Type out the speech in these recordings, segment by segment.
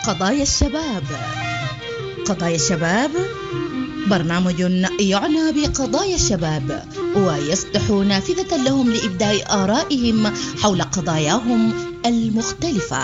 قضايا الشباب. قضايا الشباب برنامج يعنى بقضايا الشباب ويفتح نافذة لهم لإبداء آرائهم حول قضاياهم المختلفة.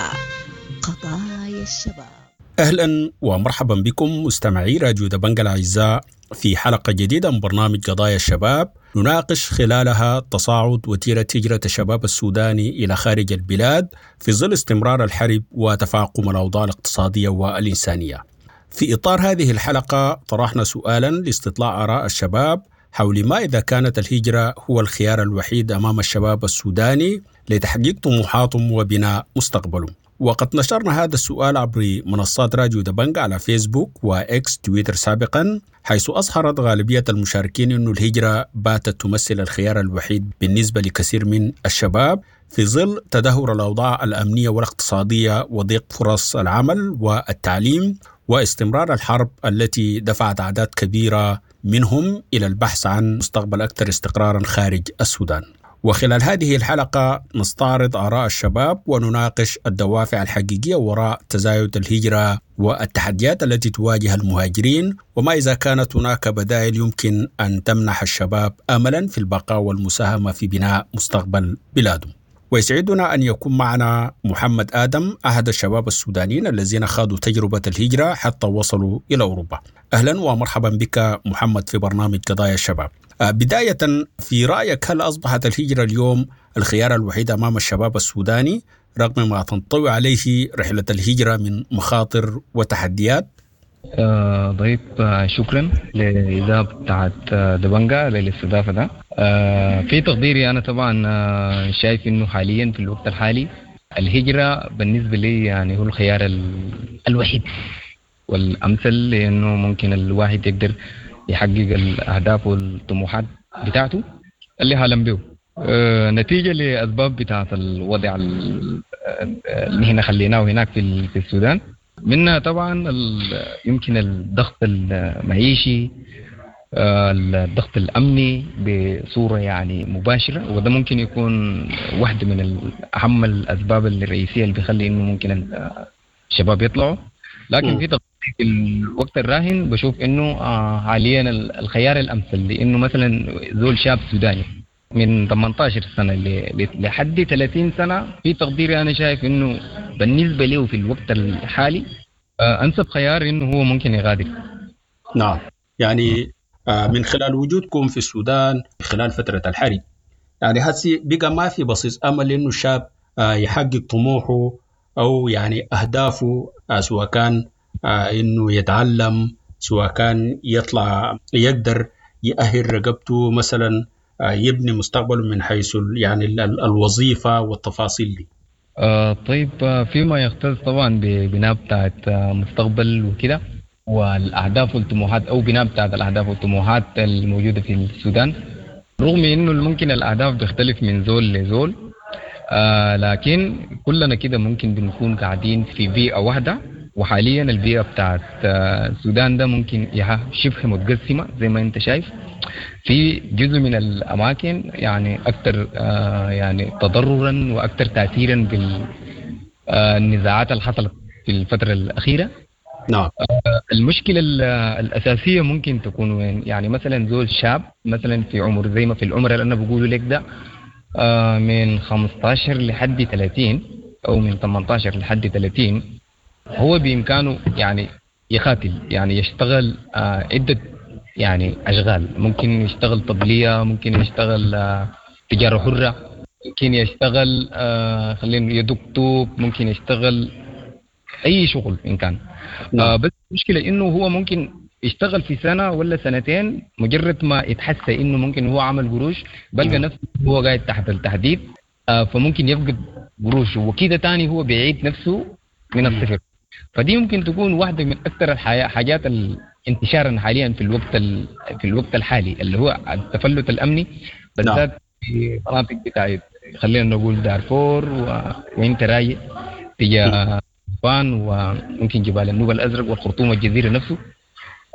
قضايا الشباب. أهلا ومرحبا بكم مستمعي راديو دبنج الأعزاء في حلقة جديدة من برنامج قضايا الشباب، نناقش خلالها تصاعد وتيرة هجرة الشباب السوداني إلى خارج البلاد في ظل استمرار الحرب وتفاقم الأوضاع الاقتصادية والإنسانية. في إطار هذه الحلقة طرحنا سؤالا لاستطلاع آراء الشباب حول ما إذا كانت الهجرة هو الخيار الوحيد أمام الشباب السوداني لتحقيق طموحاتهم وبناء مستقبلهم. وقد نشرنا هذا السؤال عبر منصات راديو دبنج على فيسبوك وإكس تويتر سابقا، حيث أظهرت غالبية المشاركين أن الهجرة باتت تمثل الخيار الوحيد بالنسبة لكثير من الشباب في ظل تدهور الأوضاع الأمنية والاقتصادية وضيق فرص العمل والتعليم واستمرار الحرب التي دفعت أعداد كبيرة منهم إلى البحث عن مستقبل أكثر استقرارا خارج السودان. وخلال هذه الحلقة نستعرض آراء الشباب ونناقش الدوافع الحقيقية وراء تزايد الهجرة والتحديات التي تواجه المهاجرين، وما إذا كانت هناك بدائل يمكن أن تمنح الشباب أملا في البقاء والمساهمة في بناء مستقبل بلادهم. ويسعدنا أن يكون معنا محمد آدم، أحد الشباب السودانيين الذين خاضوا تجربة الهجرة حتى وصلوا إلى أوروبا. أهلا ومرحبا بك محمد في برنامج قضايا الشباب. بداية، في رأيك هل أصبحت الهجرة اليوم الخيار الوحيد أمام الشباب السوداني رغم ما تنطوي عليه رحلة الهجرة من مخاطر وتحديات؟ طيب، شكرا للإذاعة بتاعت دبنجا للاستضافة ده. في تقديري أنا طبعا شايف إنه حاليا في الوقت الحالي الهجرة بالنسبة لي يعني هو الخيار الوحيد والأمثل، لأنه ممكن الواحد يقدر يحقق الأهداف والطموحات بتاعته اللي حالم به، نتيجة لأسباب بتاعت الوضع اللي هنا خليناه هناك في السودان، منها طبعا يمكن الضغط المعيشي، الضغط الأمني بصورة يعني مباشرة، وده ممكن يكون واحدة من أهم الأسباب الرئيسية اللي بيخلي إنه ممكن الشباب يطلعوا. لكن في الوقت الراهن بشوف إنه حاليا الخيار الأمثل، لأنه مثلا زول شاب سوداني من 18 سنة لحد 30 سنة، في تقديري أنا شايف إنه بالنسبة له في الوقت الحالي أنسب خيار إنه هو ممكن يغادر. نعم، يعني من خلال وجودكم في السودان خلال فترة الحرب، يعني هسي بقى ما في بصيص أمل إنه الشاب يحقق طموحه أو يعني أهدافه، سواء كان إنه يتعلم، سواء كان يطلع يقدر يأهل رقبته مثلا، يبني مستقبله من حيث يعني الوظيفة والتفاصيل دي. طيب، فيما يختص طبعا ببناء بتاعت مستقبل وكده والأهداف والطموحات، أو بناء بتاعت الأهداف والطموحات الموجودة في السودان، رغم إنه ممكن الأهداف بيختلف من زول لزول، لكن كلنا كده ممكن بنكون قاعدين في بيئة واحدة. وحاليا البيئة بتاعت السودان ده ممكن شبه متقسمة زي ما انت شايف، في جزء من الأماكن يعني أكثر يعني تضررا وأكثر تأثيرا بالنزاعات اللي حصلت في الفترة الأخيرة. نعم. المشكلة الأساسية ممكن تكون وين؟ يعني مثلا زول شاب مثلا في عمر زي ما في العمر اللي أنا بقوله لك ده، من 15 لحد 30 أو من 18 لحد 30، هو بإمكانه يعني يقاتل، يعني يشتغل عدة يعني أشغال، ممكن يشتغل طبلية، ممكن يشتغل تجارة حرة، ممكن يشتغل خلينا يدق طوب، ممكن يشتغل أي شغل إن كان. بس المشكلة إنه هو ممكن يشتغل في سنة ولا سنتين، مجرد ما يتحس إنه ممكن هو عمل قروش بلقى نفسه هو قاعد تحت التهديد، فممكن يفقد قروشه وكده تاني هو بيعيد نفسه من الصفر. فدي ممكن تكون واحدة من أكثر الحاجات انتشارا حاليا في الوقت الحالي اللي هو التفلت الأمني، بالذات في مناطق بتاعت خلينا نقول دارفور وانت رايق تجاه بان وممكن جبال النوبة الأزرق والخرطوم والجزيرة نفسه.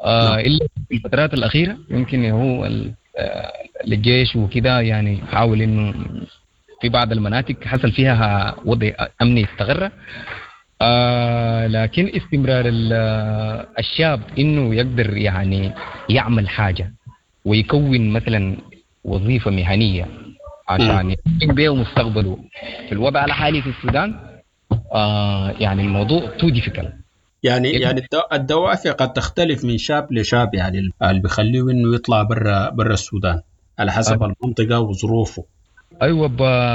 إلا في الفترات الأخيرة يمكن هو الجيش وكده يعني حاول إنه في بعض المناطق حصل فيها وضع أمني استقر. لكن استمرار الشاب انه يقدر يعني يعمل حاجة ويكون مثلا وظيفة مهنية عشان يكون بيه مستقبله في الوضع الحالي في السودان، يعني الموضوع too difficult. يعني الدوافع قد تختلف من شاب لشاب، يعني اللي بيخليه انه يطلع برا السودان على حسب المنطقة وظروفه. ايوه،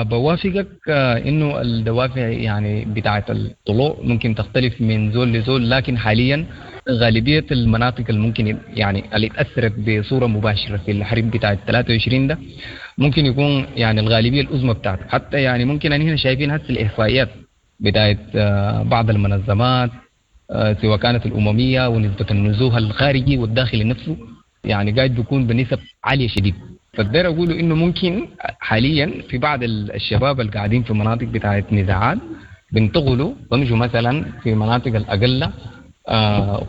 بوافقك انه الدوافع يعني بتاعه الطلوع ممكن تختلف من زول لزول، لكن حاليا غالبية المناطق اللي ممكن يعني اللي تاثرت بصورة مباشرة في الحرب بتاعه 23 ده ممكن يكون يعني الغالبية العظمى بتاعته. حتى يعني ممكن ان هنا شايفين هسه الاحصائيات بتاعه بعض المنظمات، سواء كانت الاممية ونسبه النزوح الخارجي والداخلي نفسه، يعني قاعد بيكون بنسب عالية شديد. فالداير اقوله انه ممكن حاليا في بعض الشباب اللي قاعدين في مناطق بتاعت نزاعات بينتقلوا بمشوا مثلا في مناطق الاقل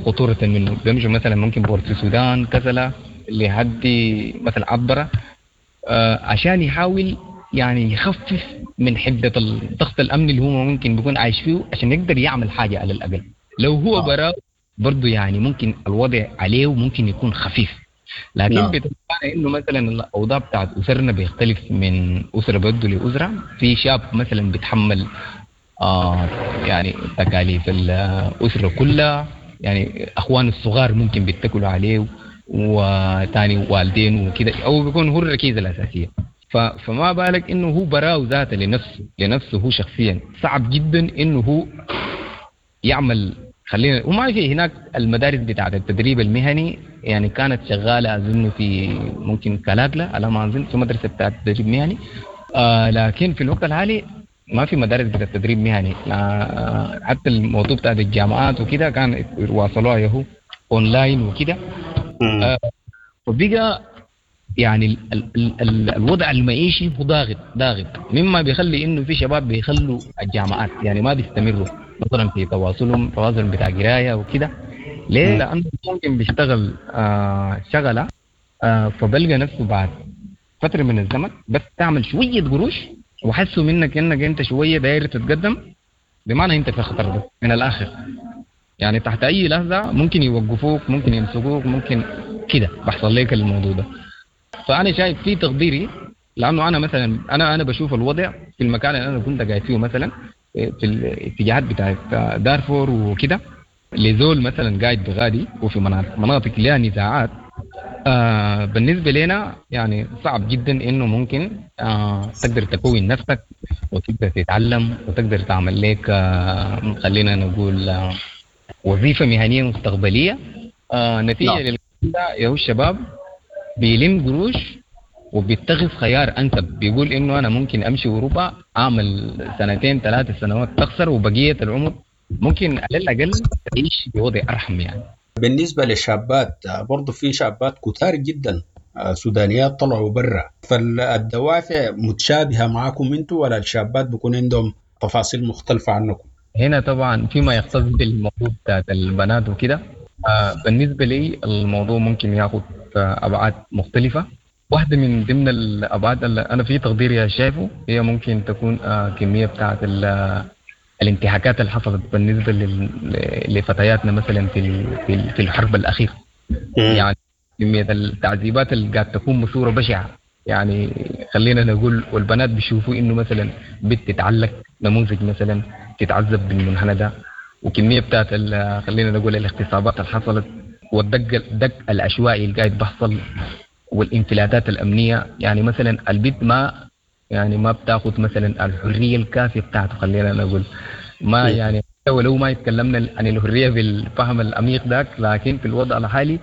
خطورة منه، بيمشوا مثلا ممكن بورت السودان، كسلا، لحد مثلا عبره، عشان يحاول يعني يخفف من حده الضغط الامني اللي هو ممكن بيكون عايش فيه، عشان يقدر يعمل حاجة على الاقل. لو هو برا برضه يعني ممكن الوضع عليه ممكن يكون خفيف، لكن بتبقى انه مثلا الاوضاع بتاعت اسرنا بيختلف من اسره برضه لاسرة. في شاب مثلا بيتحمل يعني تكاليف الاسرة كلها، يعني اخوانه الصغار ممكن بيتكلوا عليه وتاني والدين وكده، او بيكون هو الركيزة الاساسية. فما بالك انه هو براو ذاته لنفسه هو شخصيا صعب جدا انه هو يعمل. خلينا وما في هناك المدارس بتاعت التدريب المهني يعني كانت شغالة اظن في ممكن كلاكلا على ما اظن في مدرسه بتاعت تدريب مهني، لكن في الوقت الحالي ما في مدارس بتاعت تدريب مهني. حتى الموضوع بتاع الجامعات وكده كان واصلوها يهو اونلاين وكده. وبقى يعني الوضع المعيشي هو ضاغط، مما بيخلي انه في شباب بيخلوا الجامعات، يعني ما بيستمروا مثلا في تواصلهم بتاع قرايه وكده. ليه؟ لانه ممكن بيشتغل شغله، فبلقى نفسه بعد فترة من الزمن بس تعمل شوية قروش وحسوا منك انك انت شوية داير تتقدم، بمعنى انت في خطر ده من الاخر. يعني تحت اي لحظة ممكن يوقفوك، ممكن يمسكوك، ممكن كده بحصل لك الموضوع ده. فانا شايف في تقديري، لانه انا مثلا انا بشوف الوضع في المكان اللي انا كنت قاعد فيه مثلا في الاتجاهات بتاعت دارفور وكده، لزول مثلا قاعد بغادي وفي مناطق لها نزاعات، بالنسبة لنا يعني صعب جدا انه ممكن تقدر تكون نفسك وتقدر تتعلم وتقدر تعمل لك خلينا نقول وظيفة مهنية مستقبلية. نتيجة للكلام يا الشباب بيلم قروش وبيتخذ خيار انسب، بيقول انه انا ممكن امشي اوروبا اعمل 2-3 سنوات تخسر، وبقية العمر ممكن على الاقل تعيش بوضع ارحم. يعني بالنسبة للشابات برضو في شابات كتار جدا سودانيات طلعوا برا، فالدوافع متشابهة معاكم انتوا ولا الشابات بيكون عندهم تفاصيل مختلفة عنكم؟ هنا طبعا فيما يختص بالموضوع بتاعت البنات وكده، بالنسبة لي الموضوع ممكن ياخذ ابعاد مختلفة. واحدة من ضمن الابعاد اللي انا في تقديري شايفه هي ممكن تكون كمية بتاعت الانتهاكات اللي حصلت بالنسبة لفتياتنا مثلا في الحرب الاخيرة. يعني كمية التعذيبات اللي قاعد تكون بصورة بشعة، يعني خلينا نقول، والبنات بيشوفوا انه مثلا بنت تتعلق نموذج مثلا تتعذب بالمنحنى ده، وكمية بتاعت خلينا نقول الاغتصابات اللي حصلت والدق الدق العشوائي اللي قاعد بحصل والانفلاتات الامنية. يعني مثلا البنت ما بتاخذ مثلا الحرية الكافيه بتاعته، خلينا نقول ما يعني ولو ما يتكلمنا عن الحرية بالفهم العميق ذاك، لكن في الوضع الحالي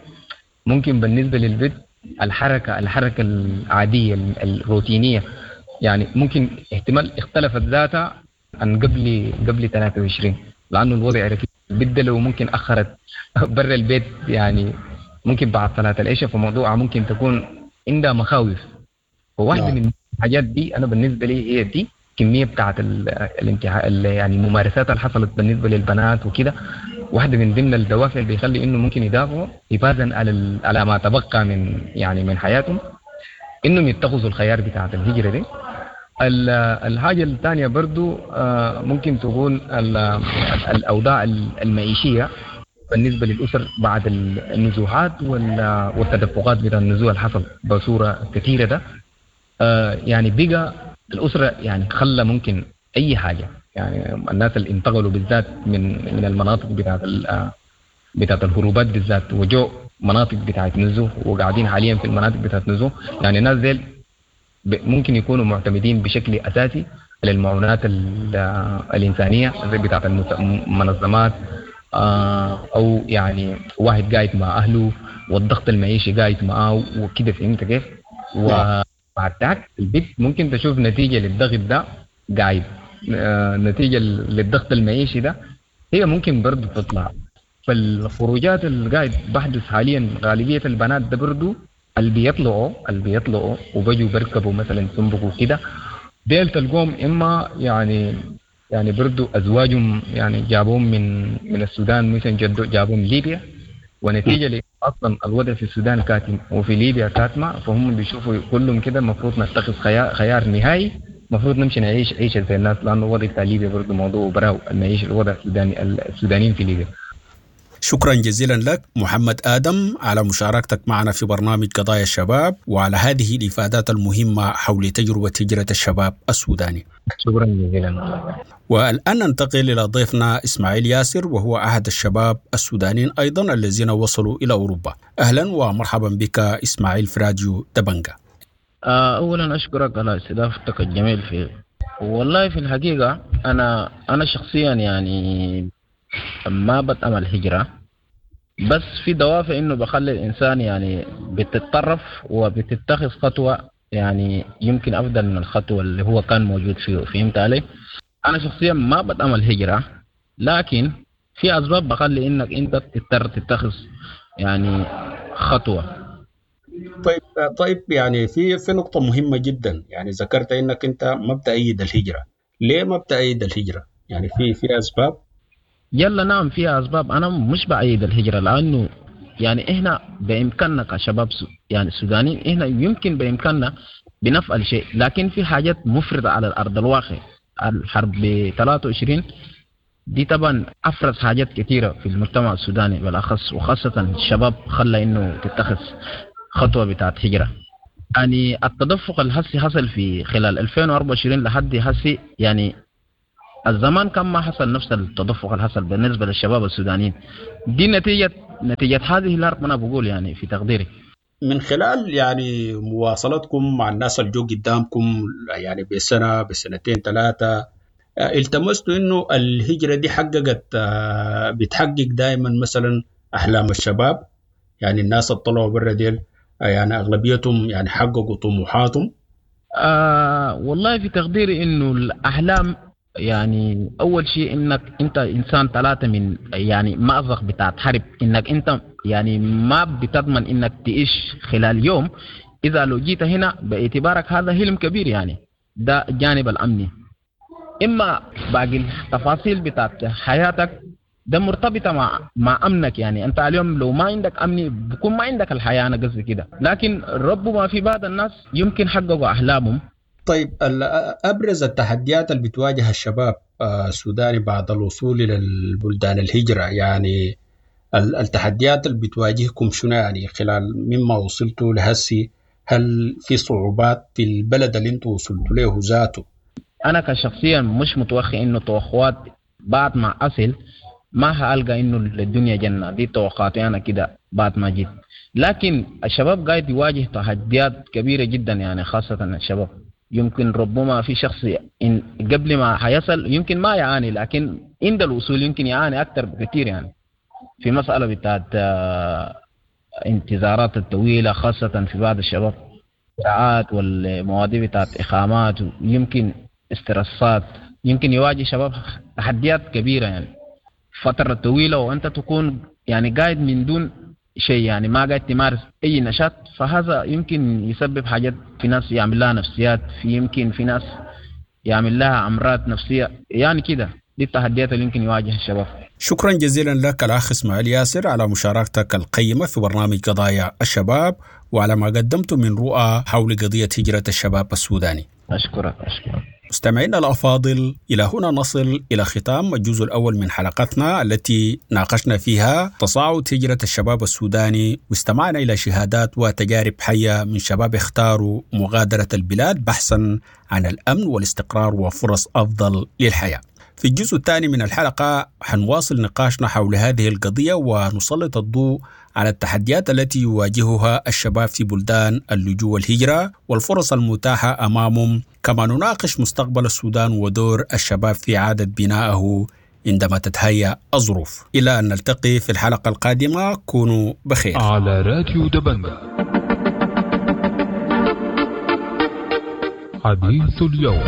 ممكن بالنسبة للبنت الحركة العادية الروتينية يعني ممكن احتمال اختلفت ذاتها عن قبل 23، لانه الوضع ركيب. البنت لو ممكن اخرت برا البيت يعني ممكن بعد صلاة العشاء، فموضوعها ممكن تكون عندها مخاوف. فواحدة من الحاجات دي انا بالنسبة لي هي دي كمية بتاعت الانتهاء يعني الممارسات اللي حصلت بالنسبة للبنات وكده، واحدة من ضمن الدوافع اللي بيخلي انه ممكن يدافعوا حفاظا على ما تبقى من يعني من حياتهم، انهم يتخذوا الخيار بتاعت الهجرة دي. الحاجة الثانية برضو ممكن تكون الأوضاع المعيشية بالنسبة للأسر بعد النزوحات والتدفقات بتاع النزوح اللي حصل بصورة كثيرة ده، يعني بقى الأسرة يعني خلى ممكن أي حاجة، يعني الناس اللي انتقلوا بالذات من المناطق بتاعت الهروبات بالذات وجو مناطق بتاعت نزوح وقاعدين حاليا في المناطق بتاعت نزوح، يعني الناس ديل ممكن يكونوا معتمدين بشكل أساسي على المعونات الإنسانية زي بتاعت المنظمات، أو يعني واحد قاعد مع أهله والضغط المعيشي قاعد معاه وكده، فهمت كيف؟ وبعد ذاك البيت ممكن تشوف نتيجة للضغط ده قاعد، نتيجة للضغط المعيشي ده هي ممكن برضو تطلع. فالخروجات اللي قاعد بحدث حاليا غالبية البنات ده برضو اللي بيطلعوا وبجوا بركبوا مثلا سنبقوا كده، ديل تلقوهم إما يعني برضو أزواجهم يعني جابوهم من السودان مثلا جابوهم ليبيا، ونتيجة أصلا الوضع في السودان كاتم وفي ليبيا كاتمة، فهم بيشوفوا كلهم كده المفروض نتخذ خيار نهائي، المفروض نمشي نعيش عيشة زي الناس، لأنه الوضع بتاع ليبيا برضو موضوع براو المعيشة الوضع السودانيين في ليبيا. شكرا جزيلا لك محمد آدم على مشاركتك معنا في برنامج قضايا الشباب وعلى هذه الإفادات المهمة حول تجربة هجرة الشباب السوداني. شكرا جزيلا. والآن ننتقل إلى ضيفنا إسماعيل ياسر، وهو أحد الشباب السودانيين أيضا الذين وصلوا إلى أوروبا. أهلا ومرحبا بك إسماعيل في راديو دبنجة. أولا أشكرك على استضافتك الجميل في والله في الحقيقة أنا شخصيا يعني ما بتأمل هجرة، بس في دوافع إنه بخلي الإنسان يعني بتتطرف وبتتخذ خطوة يعني يمكن أفضل من الخطوة اللي هو كان موجود فيه، فهمت علي؟ أنا شخصيا ما بتأمل هجرة، لكن في أسباب بخلي إنك أنت تضطر تتخذ يعني خطوة. طيب يعني في نقطة مهمة جدا، يعني ذكرت إنك أنت ما بتأيد الهجرة، ليه ما بتأيد الهجرة؟ يعني في أسباب؟ يلا نعم فيها أسباب. أنا مش بأيد الهجرة لأنه يعني إحنا بإمكاننا كشباب يعني السودانيين إحنا يمكن بإمكاننا بنفعل شيء، لكن في حاجات مفرطة على الأرض الواقع. الحرب 23 دي طبعا أفرز حاجات كثيرة في المجتمع السوداني بالأخص، وخاصة الشباب خلى إنه تتخذ خطوة بتاعت هجرة. يعني التدفق الهسي حصل في خلال 2024 لحد هسي، يعني الزمان كان ما حصل نفس التدفق اللي حصل بالنسبة للشباب السودانيين. دي نتيجة هذه الحرب أنا بقول يعني في تقديري. من خلال يعني مواصلتكم مع الناس اللي جو قدامكم يعني بسنة بسنتين ثلاثة، التمستوا إنه الهجرة دي حققت بتحقق دائما مثلا أحلام الشباب؟ يعني الناس اللي طلعوا برا ديل يعني أغلبيتهم يعني حققوا طموحاتهم؟ والله في تقديري إنه الأحلام يعني أول شيء إنك أنت إنسان ثلاثة من يعني مأزق بتاعت حرب، إنك أنت يعني ما بتضمن إنك تعيش خلال يوم. إذا لو جيت هنا باعتبارك هذا حلم كبير، يعني ده الجانب الأمني. إما باقي التفاصيل بتاعت حياتك ده مرتبطة مع أمنك، يعني أنت اليوم لو ما عندك أمني بكون ما عندك الحياة، أنا قصدي كده. لكن ربما في بعض الناس يمكن حققوا أحلامهم. طيب أبرز التحديات اللي بتواجه الشباب السوداني بعد الوصول إلى البلدان الهجرة، يعني التحديات اللي بتواجهكم شنو يعني خلال مما وصلتوا لهسي؟ هل في صعوبات في البلد اللي انتوا وصلتوا له ذاته؟ أنا كشخصيا مش متوخي إنه توقعات بعد ما أصل ما هألقى إنه الدنيا جنة، دي توقعاتي أنا كده بعد ما جيت. لكن الشباب قاعد يواجه تحديات كبيرة جدا، يعني خاصة الشباب يمكن ربما في شخص إن قبل ما حيصل يمكن ما يعاني، لكن عند الوصول يمكن يعاني أكثر بكثير. يعني في مسألة بتاعت انتظارات الطويلة خاصة في بعض الشباب، ساعات والمواضيع بتاعت إقامات، يمكن استرسات، يمكن يواجه شباب تحديات كبيرة يعني فترة طويلة وأنت تكون يعني قاعد من دون شيء، يعني ما قاعد تمارس أي نشاط، فهذا يمكن يسبب حاجات في ناس يعمل لها نفسيات، في يمكن في ناس يعمل لها أمراض نفسية، يعني كده دي التحديات اللي يمكن يواجه الشباب. شكرا جزيلا لك الأخ إسماعيل ياسر على مشاركتك القيمة في برنامج قضايا الشباب وعلى ما قدمته من رؤى حول قضية هجرة الشباب السوداني. أشكرك. مستمعينا الأفاضل، إلى هنا نصل إلى ختام الجزء الأول من حلقتنا التي ناقشنا فيها تصاعد هجرة الشباب السوداني، واستمعنا إلى شهادات وتجارب حية من شباب اختاروا مغادرة البلاد بحثا عن الأمن والاستقرار وفرص أفضل للحياة. في الجزء الثاني من الحلقة حنواصل نقاشنا حول هذه القضية ونسلط الضوء على التحديات التي يواجهها الشباب في بلدان اللجوء والهجرة والفرص المتاحة أمامهم، كما نناقش مستقبل السودان ودور الشباب في إعادة بنائه عندما تتهيأ الظروف. إلى أن نلتقي في الحلقة القادمة، كونوا بخير. على راديو دبنجة حديث اليوم.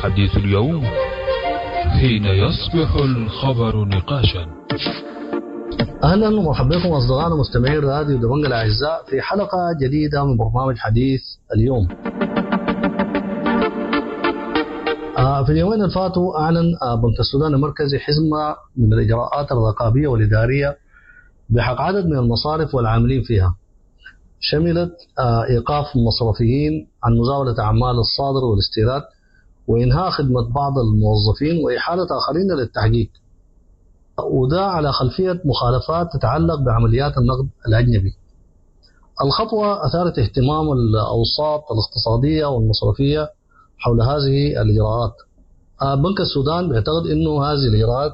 حديث اليوم حين يصبح الخبر نقاشا. اهلا ومرحبا بكم اصدقائنا مستمعين راديو دبنجة الاعزاء في حلقة جديدة من برنامج حديث اليوم. في اليومين اللي فاتوا اعلن بنك السودان المركزي حزمه من الاجراءات الرقابية والادارية بحق عدد من المصارف والعاملين فيها، شملت ايقاف المصرفيين عن مزاولة اعمال الصادر والاستيراد، وإنهاء خدمة بعض الموظفين، وإحالة آخرين للتحقيق، وده على خلفية مخالفات تتعلق بعمليات النقد الأجنبي. الخطوة أثارت اهتمام الأوساط الاقتصادية والمصرفية حول هذه الإجراءات. بنك السودان بيعتقد أنه هذه الإجراءات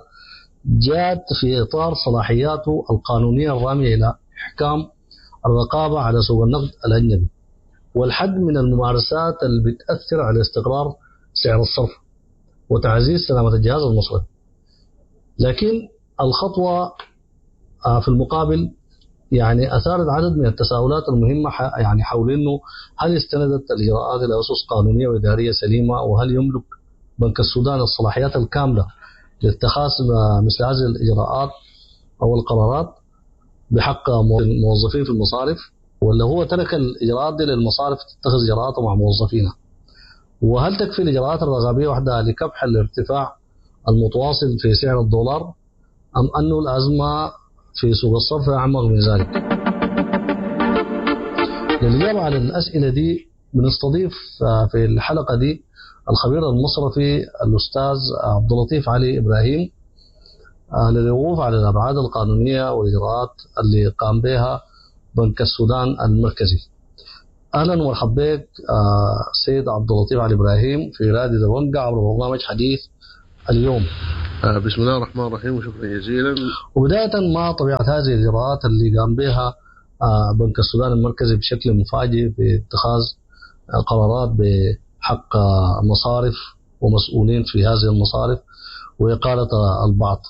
جاءت في إطار صلاحياته القانونية الرامية إلى إحكام الرقابة على سوق النقد الأجنبي والحد من الممارسات اللي بتأثر على استقرار سعر الصرف وتعزيز سلامة الجهاز المصرفي. لكن الخطوة في المقابل يعني أثارت عدد من التساؤلات المهمة يعني حول أنه هل استندت الإجراءات إلى أسس قانونية وإدارية سليمة، وهل يملك بنك السودان الصلاحيات الكاملة لاتخاذ مثل هذه الإجراءات أو القرارات بحق الموظفين في المصارف، ولا هو ترك الإجراءات دي للمصارف تتخذ إجراءاتها مع موظفينها؟ وهل تكفي الإجراءات الرقابية وحدها لكبح الارتفاع المتواصل في سعر الدولار، أم أن الأزمة في سوق الصرف أعمق من ذلك؟ للإجابة على الأسئلة دي بنستضيف في الحلقة دي الخبير المصرفي الأستاذ عبد اللطيف علي إبراهيم للوقوف على الأبعاد القانونية والإجراءات اللي قام بها بنك السودان المركزي. اهلا ومرحبا بك سيد عبد اللطيف علي ابراهيم في راديو دبنجة عبر برنامج حديث اليوم. بسم الله الرحمن الرحيم وشكرا جزيلا. وبداية، ما طبيعة هذه الإجراءات اللي قام بها بنك السودان المركزي بشكل مفاجئ في اتخاذ قرارات بحق مصارف ومسؤولين في هذه المصارف وإقالة البعض؟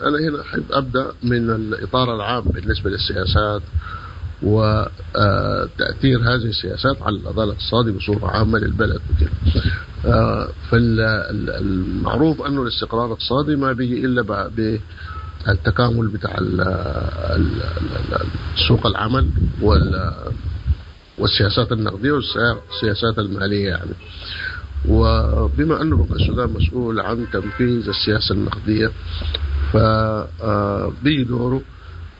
أنا هنا أحب أبدأ من الإطار العام بالنسبة للسياسات وتأثير هذه السياسات على الأداء الاقتصادي بصورة عامة للبلد وكده. فالمعروف أنه الاستقرار الاقتصادي ما بيجي إلا بالتكامل بتاع سوق العمل والسياسات النقدية والسياسات المالية يعني. وبما أنه بنك السودان مسؤول عن تنفيذ السياسة النقدية فبيجي دوره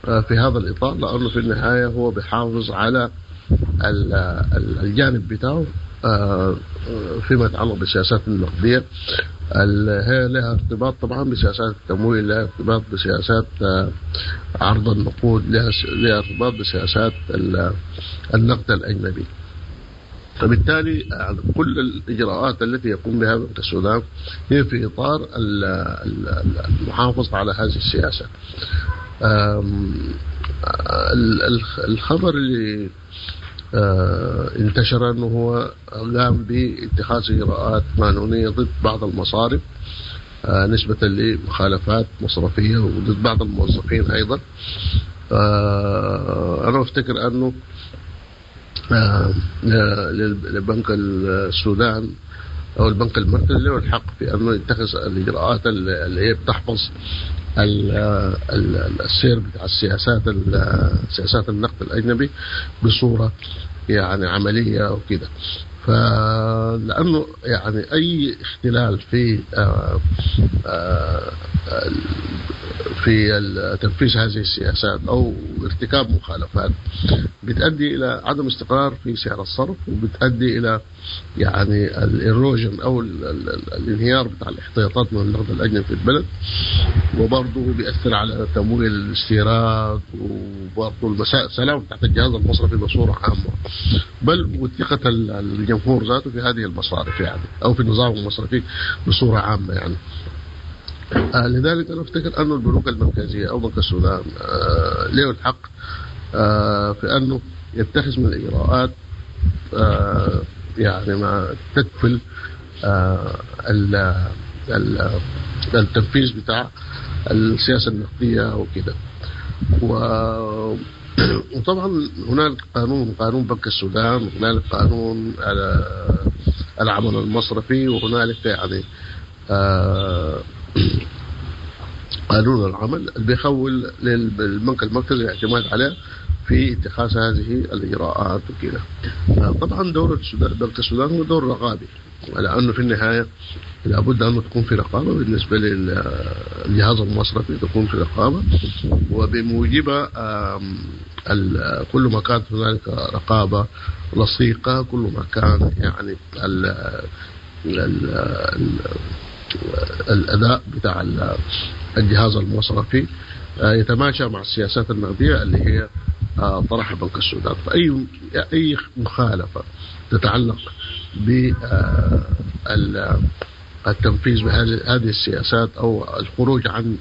في هذا الإطار، لأنه في النهاية هو بيحافظ على الجانب بتاعه فيما يتعلق بالسياسات النقدية اللي هي لها ارتباط طبعا بسياسات التمويل، لها ارتباط بسياسات عرض النقود، لها ارتباط بسياسات النقد الأجنبي. فبالتالي كل الإجراءات التي يقوم بها بنك السودان هي في إطار المحافظة على هذه السياسة. الخبر اللي انتشر أنه هو قام باتخاذ إجراءات قانونية ضد بعض المصارف نسبة لمخالفات مصرفية وضد بعض الموظفين أيضا. أنا أفتكر أنه لبنك السودان أو البنك المركزي له الحق في أنه يتخذ الإجراءات اللي هي بتحفظ السير بتاع السياسات، سياسات النقد الأجنبي بصورة يعني عملية وكده. فلانه يعني اي اختلال في في تنفيذ هذه السياسات او ارتكاب مخالفات بتؤدي الى عدم استقرار في سعر الصرف، وبتؤدي الى يعني ال erosion او الانهيار بتاع الاحتياطات من النقد الاجنبي في البلد، وبرضه بيأثر على تمويل الاستيراد، وبرضه السلامة بتاعت الجهاز المصرفي بصورة عامة، بل وثقه الجمهور ذاته في هذه المصارف يعني او في النظام المصرفي بصورة عامة يعني. لذلك انا افتكر انه البنوك المركزية او بنك السودان له الحق في انه يتخذ من اجراءات يعني ما تكفل التنفيذ بتاع السياسة النقدية وكده. وطبعا هنالك قانون بنك السودان، وهنالك قانون العمل المصرفي، وهنالك يعني قانون العمل اللي بيخول للبنك المركزي الاعتماد عليه في اتخاذ هذه الاجراءات وكده. طبعا دور بنك السودان هو دور رقابي، لانه في النهاية لابد انه تكون في رقابه بالنسبة للجهاز المصرفي، تكون في رقابه، وبموجبها كل ما كانت هنالك رقابه لصيقه كل ما كان يعني ال ال ال الاداء بتاع الجهاز المصرفي يتماشى مع السياسات النقدية اللي هي طرحها بنك السودان. فاي اي مخالفة تتعلق بالتنفيذ بهذه السياسات او الخروج عن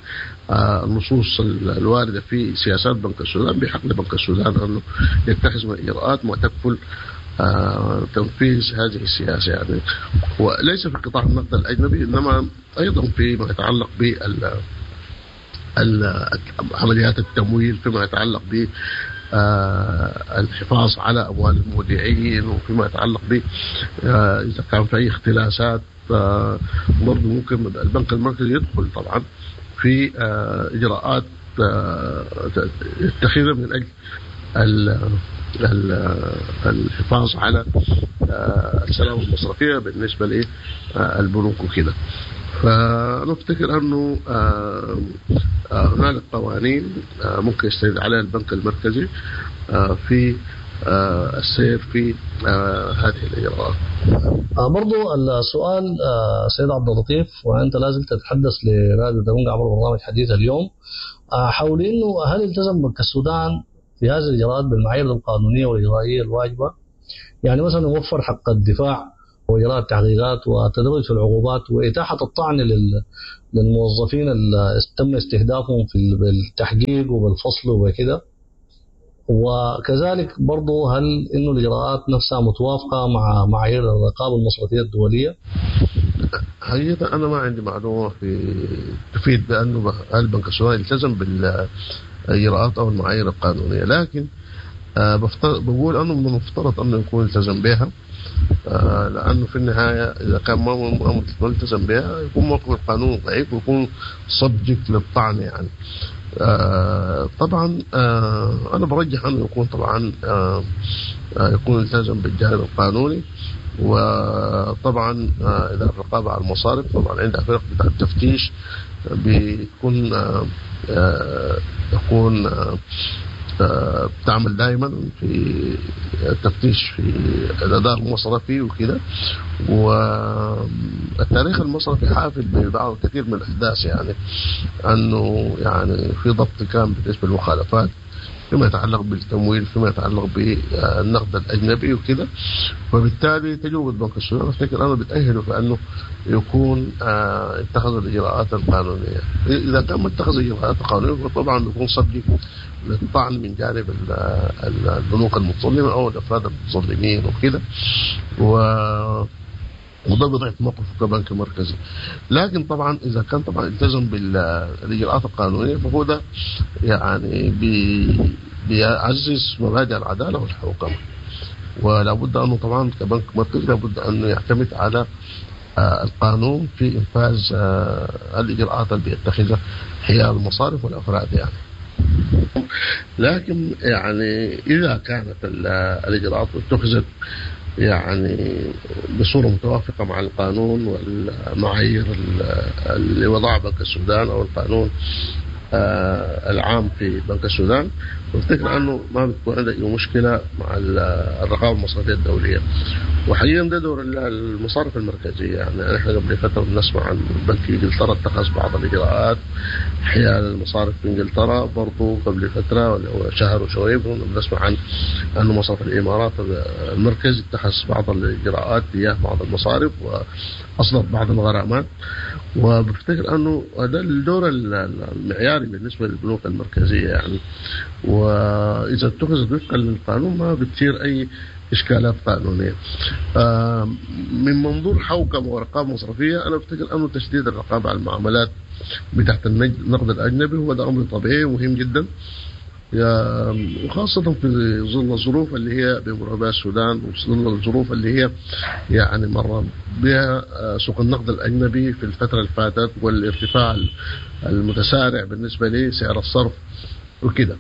النصوص الواردة في سياسات بنك السودان، بحق لبنك السودان انه يتخذ من اجراءات ما تكفل تنفيذ هذه السياسة يعني، وليس في قطاع النقد الاجنبي، انما ايضا فيما يتعلق بال عمليات التمويل، فيما يتعلق ب الحفاظ على اموال المودعين، وفيما يتعلق ب اذا كان في اي اختلاسات برضه ممكن البنك المركزي يدخل طبعا في اجراءات يتخذها من اجل الحفاظ على السلامة المصرفية بالنسبة للبنوك وكده. فأنا أفتكر أنه هنالك قوانين ممكن يستند عليها البنك المركزي في السير في هذه الإجراءات. برضو السؤال سيد عبد اللطيف، وأنت لازم تتحدث لراديو دبنجا عبر برنامج حديث اليوم، حول أنه هل التزم بنك السودان في هذه الإجراءات بالمعايير القانونية والإجرائية الواجبة؟ يعني مثلا وفر حق الدفاع وإجراء التحقيقات والتدرج في العقوبات وإتاحة الطعن للموظفين اللي تم استهدافهم في بالتحقيق وبالفصل وكده. وكذلك برضو هل إنه الإجراءات نفسها متوافقة مع معايير الرقابة المصرفية الدولية؟ حقيقة أنا ما عندي معلومة في تفيد بأنه هل بنك السودان التزم بالإجراءات أو المعايير القانونية، لكن بقول أنه من المفترض أنه يكون التزم بها، لأنه في النهاية إذا كان ما ملتزم بها يكون موقف القانون ضعيف ويكون سبجكت للطعن يعني. طبعا أنا برجح أنه يكون طبعا يكون التزم بالجانب القانوني. وطبعا إذا الرقابة على المصارف طبعا عندها فرق بتاع التفتيش بيكون يكون بتعمل دائما في التفتيش في الاداء المصرفي وكده. والتاريخ المصرفي حافل ببعض كثير من الاحداث يعني، انه يعني في ضبط كان بالنسبة للمخالفات فيما يتعلق بالتمويل، فيما يتعلق بالنقد الاجنبي وكده. وبالتالي تجربه بنك السودان افتكر انا بتاهله في انه يكون اتخذ الاجراءات القانونية. اذا كان ما اتخذ الاجراءات القانونية فطبعا بيكون صدق للطعن من جانب البنوك المتظلمه او الافراد المتظلمين وكده، وده بضعف موقفه كبنك مركزي. لكن طبعا اذا كان طبعا التزم بالاجراءات القانونية فهو ده يعني بيعزز مبادئ العدالة والحوكمه، ولا بد انه طبعا كبنك مركزي لابد انه يعتمد على القانون في انفاذ الاجراءات اللي بيتخذها حيال المصارف والافراد يعني. لكن يعني اذا كانت الاجراءات اتخذت يعني بصورة متوافقة مع القانون والمعايير اللي وضعها بنك السودان أو القانون العام في بنك السودان، وافتكر انه ما بتكون عندك اي مشكلة مع الرقابة المصرفية الدولية. وحقيقة ده دور المصارف المركزية، يعني احنا قبل فترة بنسمع عن بنك انجلترا اتخذ بعض الاجراءات حيال المصارف في انجلترا، برضه قبل فترة ولا شهر وشوية بنسمع عن انه مصرف الامارات المركزي اتخذ بعض الاجراءات تجاه بعض المصارف واصدر بعض الغرامات. وبفتكر انه ده الدور المعياري بالنسبة للبنوك المركزية يعني، واذا اتخذت وفقا للقانون ما بتصير اي اشكالات قانونية. من منظور حوكمة ورقابه مصرفية، انا بفتكر انه تشديد الرقابة على المعاملات بتاعت النقد الاجنبي هو ده امر طبيعي ومهم جدا، وخاصة في ظل الظروف اللي هي بيمر بها السودان، وظل الظروف اللي هي يعني مر بها سوق النقد الأجنبي في الفترة اللي فاتت، والارتفاع المتسارع بالنسبة لسعر الصرف وكده.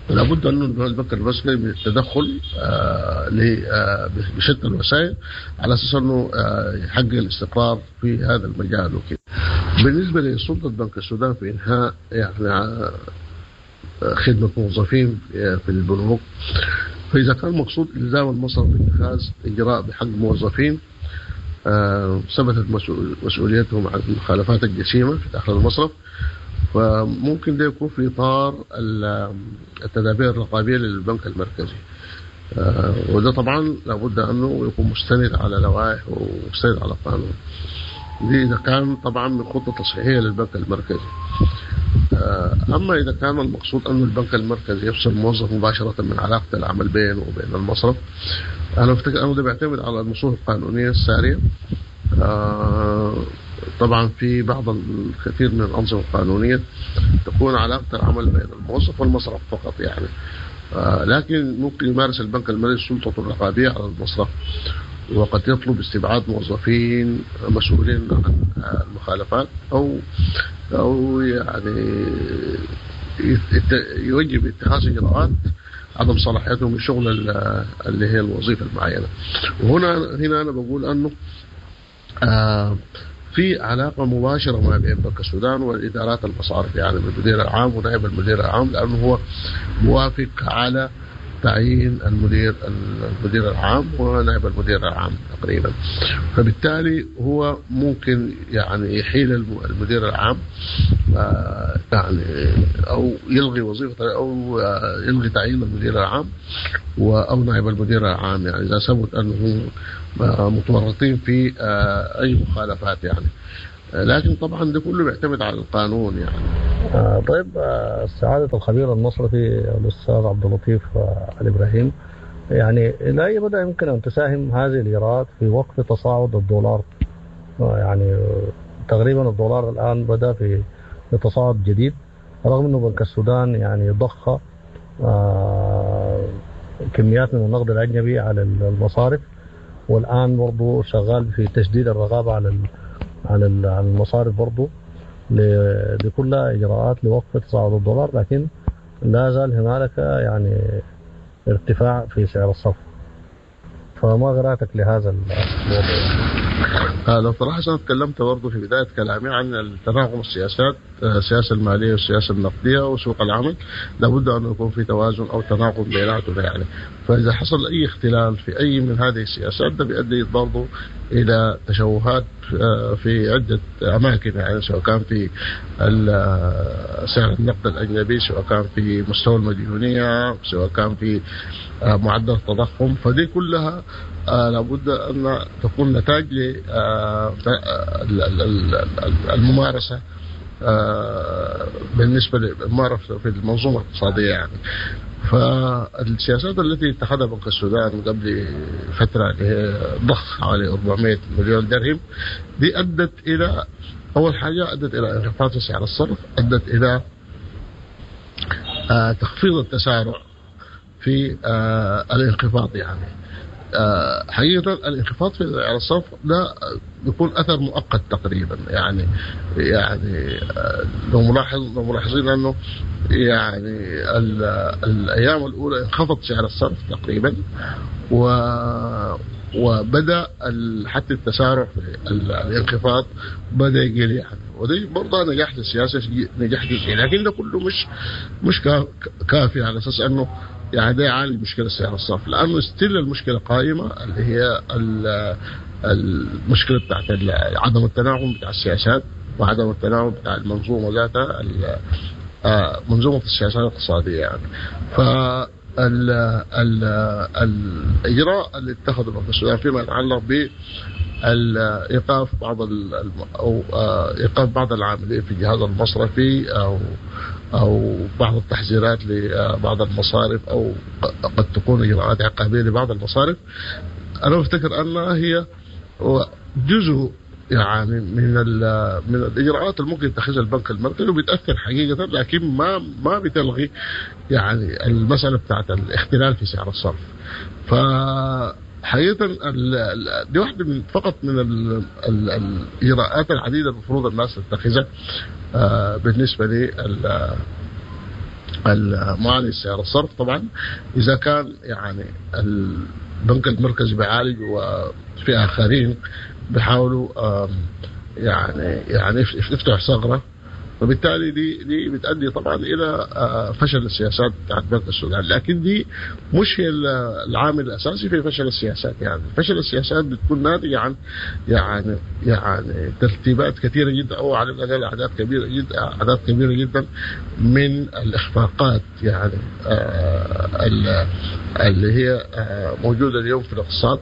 لابد أن البنك المركزي من التدخل بشتى الوسائل على أساس أنه يحقق الاستقرار في هذا المجال وكده. بالنسبة لسلطة بنك السودان في إنهاء يعني خدمة موظفين في البنوك، فإذا كان المقصود إلزام المصرف باتخاذ إجراء بحق موظفين ثبتت مسؤوليتهم عن المخالفات الجسيمة في داخل المصرف، فممكن ده يكون في إطار التدابير الرقابية للبنك المركزي، وده طبعا لابد أنه يكون مستند على لوائح ومستند على قانون. دي إذا كان طبعا من خطة تصحيحية للبنك المركزي. أما إذا كان المقصود أن البنك المركزي يفصل الموظف مباشرة من علاقة العمل بينه وبين المصرف، أنا أفتكر أنه ده بيعتمد على النصوص القانونية السارية. طبعا في بعض الكثير من الأنظمة القانونية تكون علاقة العمل بين الموظف والمصرف فقط يعني، لكن ممكن يمارس البنك المركزي سلطته الرقابية على المصرف، وقد يطلب استبعاد موظفين مسؤولين عن المخالفات، أو يعني يوجب اتخاذ إجراءات عدم صلاحيتهم من شغل اللي هي الوظيفة المعينة. وهنا أنا بقول أنه في علاقة مباشرة ما بين بنك السودان والإدارات المصارف، يعني المدير العام ونائب المدير العام، لأنه هو موافق على تعيين المدير العام ونائب المدير العام تقريبا، فبالتالي هو ممكن يعني يحيل المدير العام يعني او يلغي وظيفته او يلغي تعيين المدير العام او نائب المدير العام، يعني اذا ثبت انهم متورطين في اي مخالفات يعني. لكن طبعا ده كله بيعتمد على القانون يعني. طيب سعادة الخبير المصرفي الأستاذ عبد اللطيف الإبراهيم، يعني إلى أي مدى يمكن أن تساهم هذه الإجراءات في وقف تصاعد الدولار؟ يعني تقريبا الدولار الآن بدأ في تصاعد جديد، رغم أنه بنك السودان يعني ضخ كميات من النقد الأجنبي على المصارف، والآن برضه شغال في تشديد الرقابة على المصارف برضه لكل إجراءات لوقف تصاعد الدولار، لكن لا زال هنالك يعني ارتفاع في سعر الصرف. فما قراءتك لهذا الموضوع؟ لو صراحة أنا تكلمت برضه في بداية كلامي عن التناغم السياسات، السياسة المالية والسياسة النقدية وسوق العمل، لابد أن يكون في توازن أو تناغم بيناتهم يعني. فإذا حصل أي اختلال في أي من هذه السياسات ده بيؤدي برضه إلى تشوهات في عدة أماكن، يعني سواء كان في سعر النقد الأجنبي، سواء كان في مستوى المديونية، سواء كان في معدل التضخم. فدي كلها لابد أن تكون نتاج للممارسة بالنسبة للممارسة في المنظومة الاقتصادية يعني. فالسياسات التي اتخذها بنك السودان قبل فترة اللي هي ضخ حوالي 400 مليون درهم دي أدت إلى أول حاجة أدت إلى انخفاض في سعر الصرف، أدت إلى تخفيض التسارع في الانخفاض يعني. حقيقة الانخفاض في سعر الصرف ده بيكون اثر مؤقت تقريبا. يعني لو ملاحظين انه يعني الايام الاولى انخفض سعر الصرف تقريبا، وبدا حتى التسارع في الانخفاض بدا يقل يعني، ودي برضه نجاح للسياسة، نجاح جزئي، لكن ده كله مش كافي على اساس انه يعني ده يعالج مشكلة سعر الصرف، لانه still المشكلة قائمة اللي هي المشكلة بتاعت عدم التناغم بتاع السياسات وعدم التناغم بتاع المنظومة ذاتها، منظومة السياسات الاقتصادية يعني. ف الاجراء اللي اتخذه بنك السودان فيما يتعلق ب ايقاف بعض او ايقاف بعض العاملين في الجهاز المصرفي او بعض التحذيرات لبعض المصارف او قد تكون اجراءات عقابيه لبعض المصارف، انا بفتكر انها هي جزء يعني من الاجراءات اللي ممكن يتخذها البنك المركزي وبتاثر حقيقة، لكن ما بتلغي يعني المسالة بتاعت الاختلال في سعر الصرف. فحقيقة دي واحدة من فقط من الاجراءات العديدة المفروض الناس تتخذها بالنسبة للمعالجه سعر الصرف. طبعا اذا كان يعني البنك المركزي بيعالج وفي اخرين بيحاولوا يعني يفتحوا ثغره، فبالتالي دي بتؤدي طبعا الى فشل السياسات بتاعت بنك السودان، لكن دي مش هي العامل الاساسي في فشل السياسات. يعني فشل السياسات بتكون ناتجة عن يعني ترتيبات كثيرة جدا او على الاقل اعداد كبيرة جدا من الاخفاقات يعني اللي هي موجودة اليوم في الاقتصاد،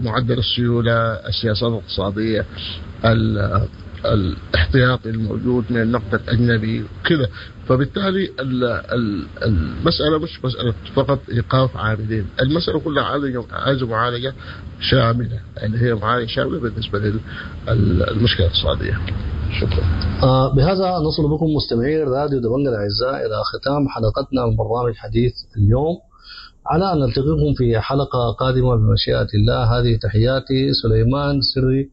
معدل السيولة، السياسات الاقتصادية، الاحتياطي الموجود من النقد الأجنبي كذا. فبالتالي المسألة مش مسألة فقط إيقاف عاملين، المسألة كلها عايزة معالجة شاملة، اللي هي معالجة شاملة بالنسبة للمشكلة الاقتصادية. شكرا. بهذا نصل بكم مستمعي راديو دبنجا الأعزاء إلى ختام حلقتنا من برنامج حديث اليوم، على أن نلتقيكم في حلقة قادمة بمشيئة الله. هذه تحياتي سليمان سري،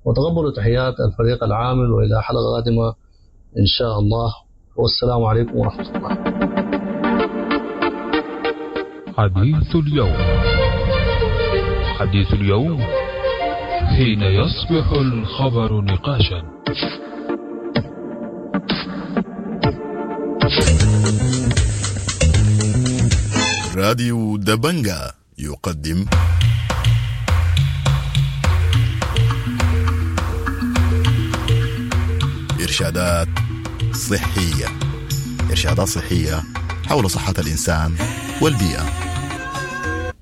وتقبلوا تحيات الفريق العامل، وإلى حلقة قادمة إن شاء الله، والسلام عليكم ورحمة الله. حديث اليوم، حديث اليوم حين يصبح الخبر نقاشا. راديو دبنجا يقدم إرشادات صحية، إرشادات صحية حول صحة الإنسان والبيئة.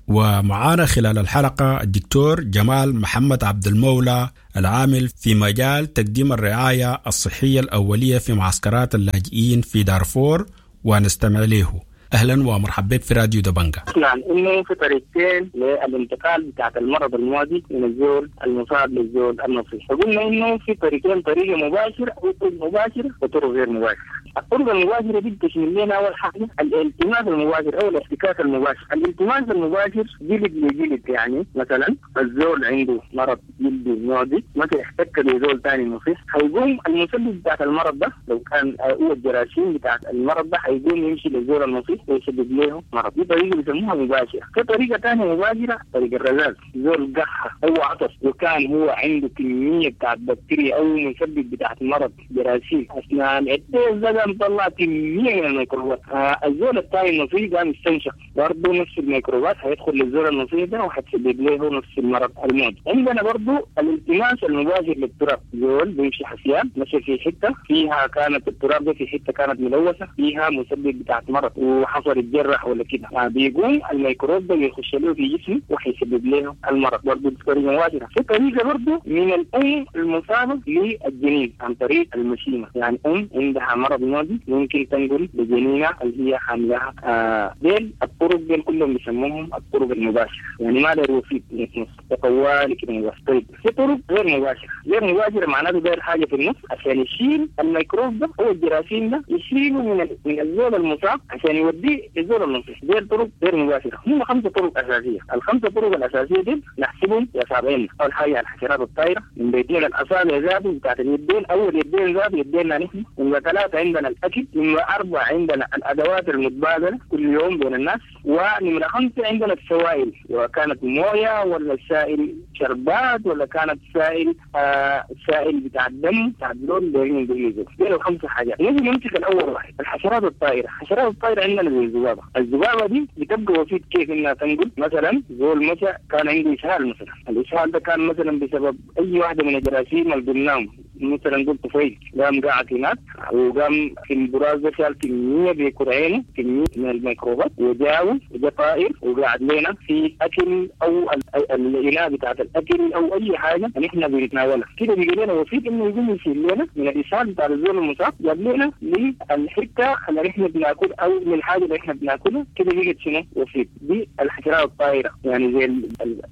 ومعانا خلال الحلقة الدكتور جمال محمد عبد المولى، العامل في مجال تقديم الرعاية الصحية الأولية في معسكرات اللاجئين في دارفور، ونستمع له. اهلا ومرحبا بك في راديو دبنجا. نعم، انه في طريقتين للانتقال بتاعت المرض المعدي من الزول المصاب للزول النصيح، فقلنا انه في طريقتين، طريقه مباشرة او طرق مباشرة وطرق غير مباشرة. الطرق المباشرة دي بتشمل لنا اول حاجة الالتماس المباشر او الاحتكاك المباشر. الالتماس المباشر جلد لجلد، يعني مثلا الزول عنده مرض جلدي معدي مثلا احتك بزول ثاني نصيح، حيقوم المسبب بتاعت المرض ده لو كان هو الجراثيم بتاعت المرض ده حيقوم يمشي للزول النصيح ويسبب له مرض. دي طريقه بيسموها مباشرة. في طريقه ثانية مباشرة، طريقه الرذاذ. زول قحه او عطس وكان هو عنده كمية بتاعت بكتيريا او مسبب بتاعت مرض جراثيم، اثناء العطس ده قام طلع كمية من الميكروبات. الزول الثاني النصيح قام يستنشق برضه نفس الميكروبات، هيدخل للزول النصيح ده وحتسبب له نفس المرض المعدي. عندنا برضه الالتماس المباشر للتراب. زول بيمشي حفيان مشى في حتة فيها كانت التراب ده في حتة كانت ملوثة فيها مسبب بتاعت مرض وحصل اتجرح ولا كده، بيقوم الميكروب ده بيخش له في جسمه وحيسبب له المرض برضه بطريقة مباشرة. في طريقه برضه من الام المصابة للجنين عن طريق المشيمه، يعني ام عندها مرض معدي ممكن تنقل لجنينها اللي هي حاملها. ديل الطرق ديل كلهم بيسموهم الطرق المباشرة، يعني ما له وسيط في النص، طوالي كده مباشر. طيب في طرق غير مباشرة. غير مباشرة معناته داير حاجة في النص عشان يشيل الميكروب ده او الجراثيم ده، يشيله من الزول المصاب عشان يوديه للزول النصيح. دي الطرق غير مباشرة، هم 5 طرق اساسية. ال5 طرق الاساسية دي نحسبهم باصابعنا. اول حاجة الحشرات الطائرة، من بيتين الاصابع ذاته بتاعت اليدين، اول يدين ذاته يدينا نحن. نمره 3 عندنا الاكل، نمره 4 عندنا الادوات المتبادلة كل يوم بين الناس، ونمره 5 عندنا السوائل، وكانت مويه ولا سائل شربات ولا كانت سائل سائل بتاع الدم بتاع الزول دايرين بيجوا. دي ال5 حاجات. نيجي نمسك الاول واحد، الحشرات الطائرة. الحشرات الطائرة عندنا زي الذبابة. الذبابة دي بتبقى وسيط كيف انها تنقل. مثلا زول مشى كان عنده اسهال مثلا، الاسهال ده كان مثلا بسبب اي واحدة من الجراثيم اللي قلناهم، مثلا قلت طفيل قام قاعد هناك وقام في البراز ده شال كمية بكرعينه كمية من الميكروبات وجاو وجا طائر وقعد لنا في اكل او الاناء بتاعت الاكل او اي حاجة نحن بنتناولها كده، بيجي لنا وسيط انه يقوم يشيل لنا من الاسهال بتاع الزول المصاب، جاب لنا للحتة اللي نحن بناكل او للحاجة اللي احنا بناكلها كده، بقت شنو؟ وسيط. دي الحشرات الطائرة، يعني زي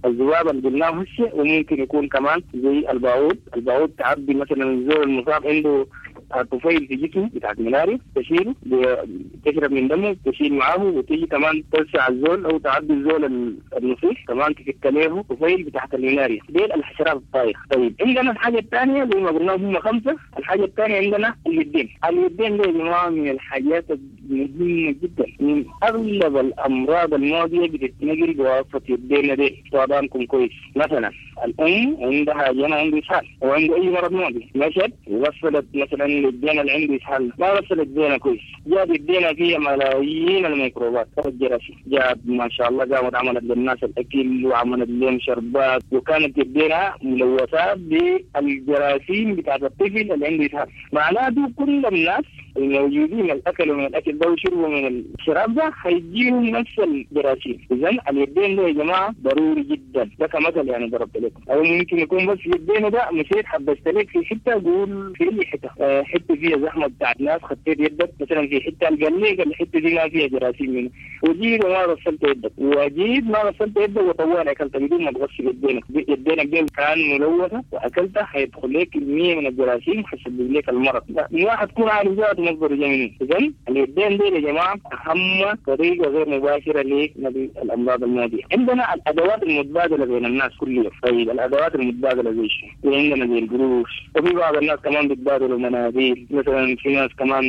الذبابة اللي قلناه هسه، وممكن يكون كمان زي الباعوض. الباعوض تعبي مثلا الزول المصاب عنده طفيل في جسمه بتاعت ملاريا، تشيله تشرب من دمه تشيل معاه، وتيجي كمان تلسع الزول او تعدي الزول النصيح كمان تفك له طفيل بتاعت الملاريا. دي الحشرات الطائرة. طيب عندنا الحاجة الثانية زي ما قلنا هم 5. الحاجة الثانية عندنا اليدين. اليدين دي يا جماعة من الحاجات المهمة جدا، من اغلب الامراض المعدية بتتنقل بواسطة يدينا دي. طبعا كويس، مثلا الام عندها جنى عنده اسهال او عنده اي مرض معدي، مشت وغسلت مثلا الجنى اللي عنده اسهال، ما غسلت يدينا كويس، جاب يدينا فيها ملايين الميكروبات الجراثيم، جاب ما شاء الله قامت عملت للناس الاكل وعملت لهم شربات، وكانت يدينا ملوثة بالجراثيم بتاعت الطفل اللي عنده اسهال. معناته كل الناس الموجودين اللي اكلوا من الاكل ده وشربوا من الشراب ده هيجيهم نفس الجراثيم. اذا اليدين ده يا جماعة ضروري جدا، ده كمثل يعني ضربت لكم، او ممكن يكون بس يدينا ده مشيت حبست لك في حتة، قول في اي حتة، حتة فيها زحمة بتاعت ناس، خطيت يدك مثلا في حتة قال لك الحتة دي ما فيها جراثيم منه، وجيت وما غسلت يدك، وجيت ما غسلت يدك وطوال اكلت بدون ما تغسل يدينك، يدينك دي كان ملوثة واكلتها هيدخل لك كمية من الجراثيم حيسبب لك المرض. الواحد تكون عارف ذاته مصدر جاي. اذا اليدين دي يا جماعة اهم طريقه غير مباشرة لنقل الامراض المعدية. عندنا الادوات المتبادلة بين الناس كل يوم. طيب الادوات المتبادلة زي شنو؟ عندنا زي القروش، وفي بعض الناس كمان بيتبادلوا مناديل، مثلا في ناس كمان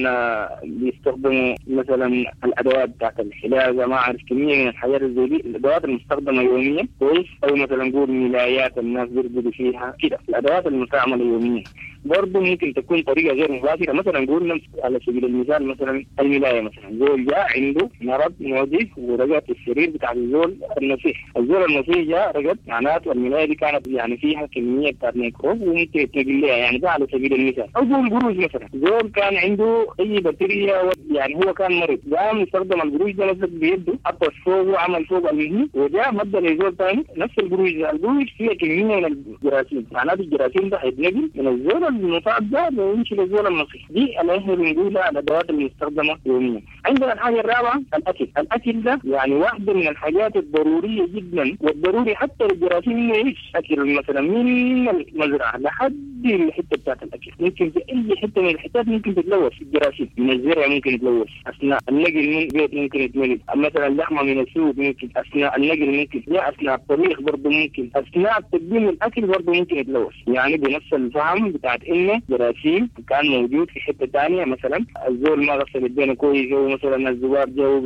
بيستخدموا مثلا الادوات بتاعت الحلاقة، ما اعرف كمية من الحاجات زي دي، الادوات المستخدمة يوميا كويس، او مثلا نقول ملايات الناس بيرقدوا فيها كده، الادوات المستعملة يوميا برضه ممكن تكون طريقه غير مباشرة. مثلا نقول على سبيل المثال مثلا الملايه، مثلا زول جاء عنده مرض معدي ورقد في السرير بتاع الزول النصيح، الزول النصيح جاء رقد، معناته الملايه دي كانت يعني فيها كمية بتاعت ميكروب وممكن يتنقل لها، يعني ده على سبيل المثال. او قول قروش مثلا، زول كان عنده اي بكتيريا يعني هو كان مريض، قام استخدم القروش ده نفسه بيده، حط فوقه وعمل فوق المهم، وجاء مد لزول ثاني نفس القروش ده، القروش فيها كمية من الجراثيم، معناته الجراثيم ده حيتنقل من الزول المصاب ده ويمشي للزول النصيح. دي اللي احنا بنقولها الادوات المستخدمة يوميا. عندنا الحاجة الرابعة الاكل. الاكل ده يعني واحدة من الحاجات الضرورية جدا، والضروري حتى للجراثيم انه يعيش. اكل مثلا من المزرعة لحد الحتة بتاعت الاكل، ممكن في اي حتة من الحتات ممكن تتلوث الجراثيم، من الزرع ممكن يتلوث، اثناء النقل من البيت ممكن يتنقل، مثلا اللحمة من السوق ممكن، اثناء النقل ممكن، يا اثناء الطبيخ برضه ممكن، اثناء تقديم الاكل برضه ممكن يتلوث. يعني بنفس الفهم بتاعت انه جراثيم كان موجود في حتة ثانية، مثلا الزول ما غسل يدينه كويس، او مثلا الذباب جو